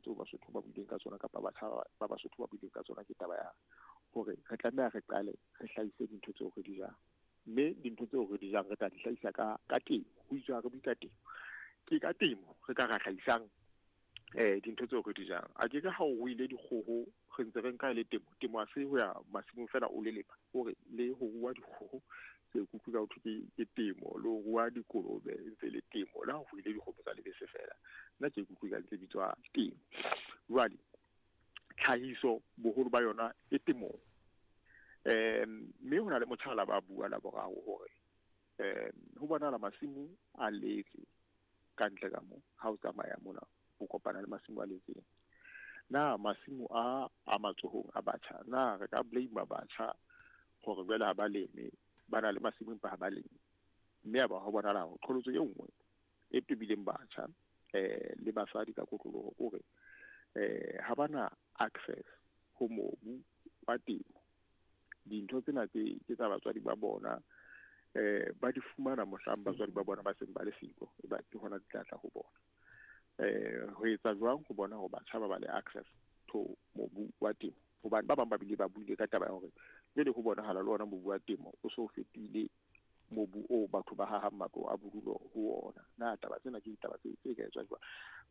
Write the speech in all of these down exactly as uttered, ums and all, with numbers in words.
tseo Basotho ba buileng ka tsona kapa batjha ba Basotho ba buileng ka tsona ke taba ya hore re tlameha re qale re hlahise dintho tseo re di jang, mme dintho tseo re di jang re tla di hlahisa ka ka temo. Ho itswe ha re bue ka temo, ke ka temo re ka ra hlahisang eh dintho tseo re di jang. A ke ke ha o ruile dikgoho re ntse re nka e le temo. Temo ha se ho ya masimong fela o le lema, hore le ho rua dikgoho se kuku ka ho thwe ke ke temo, le ho rua dikolobe e ntse le temo, le ha o ruile dikgomo tsa lebese fela nna ke ikutlwe ka ntse bitswa temo. Jwale tlhahiso boholo ba yona e temong. Um mme ho na le motjhala ba bua la boraro hore um ho bonahala masimo a letse ka ntle ka mo, ha o tsamaya mona o kopana le masimo a letseng. Na masimo a a matsohong a batjha, na re ka blame batjha hore jwale ha ba leme, ba na le masimo empa ha ba leme? Mme ya ba ho bonahala hore qholotso e nngwe e tobileng batjha eh le basadi ka kotloloho ke hore eh ha bana access ho mobu wa temo. Dintho tsena tse ke tsa batswadi ba bona, eh ba di fumana mohlang batswadi ba bona ba seng ba le siko, e ba ke hona di tla tla ho bona. Eh ho etsa jwang ho bona hore batjha ba ba le access to mobu wa temo? Hobane ba bang ba bile ba buile ka taba ya hore jwale ho bonahala le ona mobu wa temo o so fetohile mobu o batho ba hahang matlo a bodulo ho ona. Na taba tsena ke ditaba tse tse ka etswang jwang?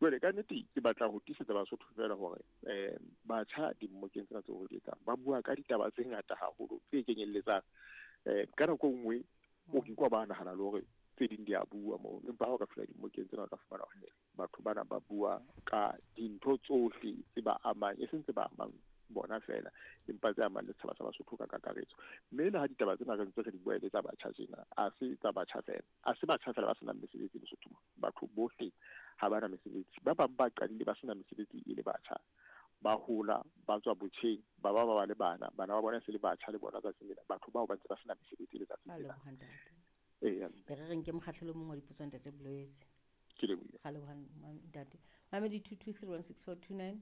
Jwale ka nnete ke batla ho tiisetsa Basotho fela hore eh batjha dimmokeng tsena tseo re di etsang ba bua ka ditaba tse ngata haholo tse kenyelletsang eh ka nako e nngwe o ke kwa ba nahana le hore tse ding di a bua moo, empa ha o ka fihla dimmokeng tsena o tla fumana hore batho bana ba bua ka dintho tsohle tse ba amang, e seng tse ba amang bona fela, empa tse amang le setjhaba sa Basotho ka kakaretso. Mme le ha ditaba tsena re ntse re di bua e le tsa batjha tjena, ha se tsa batjha fela, ha se batjha fela ba senang mesebetsi Lesotho mona. Batho bohle ha ba na mesebetsi. Ba bang ba qadile ba sena mesebetsi e le batjha, ba hola, ba tswa botjheng, ba ba ba ba le bana, bana ba bona se le batjha le bona tsatsing lena, batho bao ba ntse ba sena mesebetsi letsatsing Ba lena. leboha ntate. Eya. E re re nke mokgahlelo o mong wa dipotso ntate Bolwetse. Ke lebohile. Ga leboha ntate. Mamedi two two three one six four two nine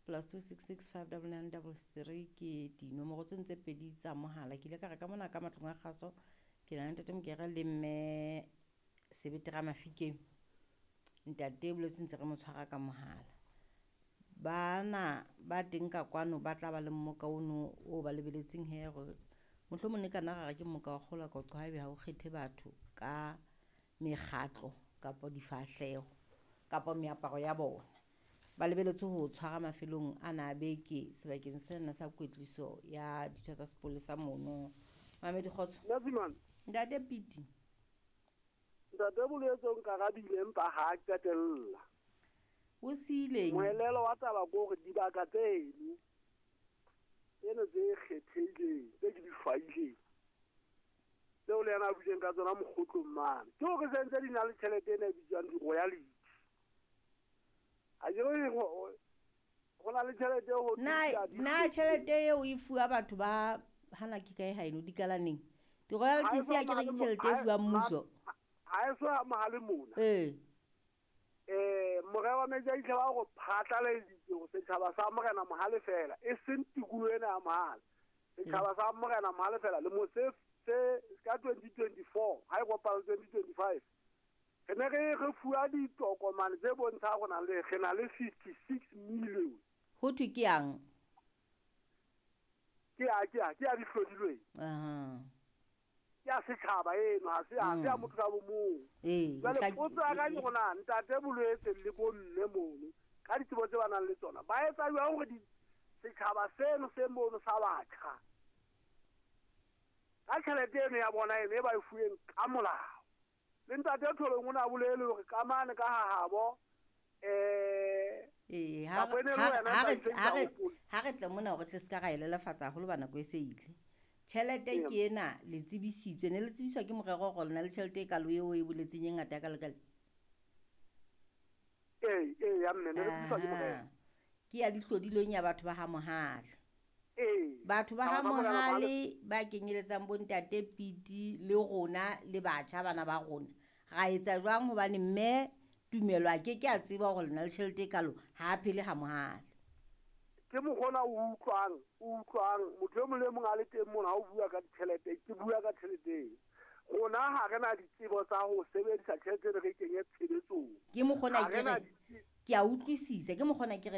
plus two six six five double nine double three ke dinomoro tseno tse pedi tsa mohala. Ke ile ka re ka mona ka matlong a kgaso ke na le ntate Mokere le mme Sebete Ramafikeng. Ntate Bolwetse ntse re mo tshwara ka mohala. Bana ba teng ka kwano ba tla ba le mmoka ono o ba lebeletseng he hore mohlomong ne ka nna ra re ke mmoka wa kgolo ka qoqa haebe ha o kgethe batho ka mekgatlo kapa difahleho kapa meaparo ya bona. Ba lebeletse ho tshwara mafelong ana a beke sebakeng sena sa kwetliso ya ditho tsa sepolesa mono. Mamedi kgotso. Ntate Ntate Piti. Ntate Bolwetse o nkarabile empa ha a qetella. O siileng? Moelelo wa taba ke hore dibaka tseno tseno tse kgethehileng tse ke di hlwaileng tseo le yena a buileng ka tsona mokgotlong mane ke hore se ntse di na le tjhelete ena e bitswang di-royalty. Ha ke re ho ho na le tjhelete eo ho Na thweng ke ya na di- tjhelete eo e fuwa batho ba hana ke kae haeno dikalaneng? Di-royalties Ha e ya ke re ke so tjhelete e ha e- fuwang mmuso. Ha e so amahale mona. Ee. Eh morero wa metsi a itlha ba go phatlaladitse go setšhaba sa Morena Mohale fela e seng tikoloho ena ya Mohale. Setšhaba sa Morena Mohale fela le mo se se ka twenty twenty-four ha e kopana le twenty twenty-five re ne re re fuwa ditokomane tse bontshang go na le re na le fifty-six million. Ho thwe ke yang? Ke ya, ke ya, ke ya di hlodilweng. Aha. Ke ya setjhaba eno, ha se ya, ha se ya Mm. motho ka bo mong. Ee, Jwale mohla- potso ya ka ke hore na ntate Bolwetse le bo mme mono ka ditsebo tse ba nang le tsona ba etsa jwang hore di-, setjhaba seno se mono sa batjha ka tjhelete eno ya bona eno e ba e fuweng ka molao. Le ntate Tholong o ne a bolele hore ka mane ka hahabo, eh, Ee, ha Nako re- e ne le ha wena re- ha re ntate tle-, ha re- Ntate Hopole. ha re tle mona hore tle se ka ra e lelefatsa haholo ba nako e se ile. Tjhelete Ee. ke ena, le tsebisitswe, ne le tsebiswa ke morero hore le na le tjhelete e kalo eo e boletseng e ngata ya ka lekale. Ee, ee, ya mme, ne le tsebiswa ke morero. Aha. Ke ya dihlodilweng ya batho ba ha Mohale. Ee. Batho ba ha Batho ba Morena Mohale Mohale. ba kenyeletsang bo ntate Piti le rona le batjha bana ba rona. Ra etsa jwang hobane mme Tumelo a ke ke a tseba hore le na le tjhelete e kalo, ha a phele ha Mohale. Ke mokgona o utlwang, o utlwang motho e mong le e mong a le teng mona ha o bua ka ditjhelete, ke bua ka tjhelete eo. Rona ha re na ditsebo tsa ho sebedisa tjhelete re kenye tshebetsong. Ke mokgona Ha re ke na re, ditse- ke a utlwisisa, ke mokgona ke re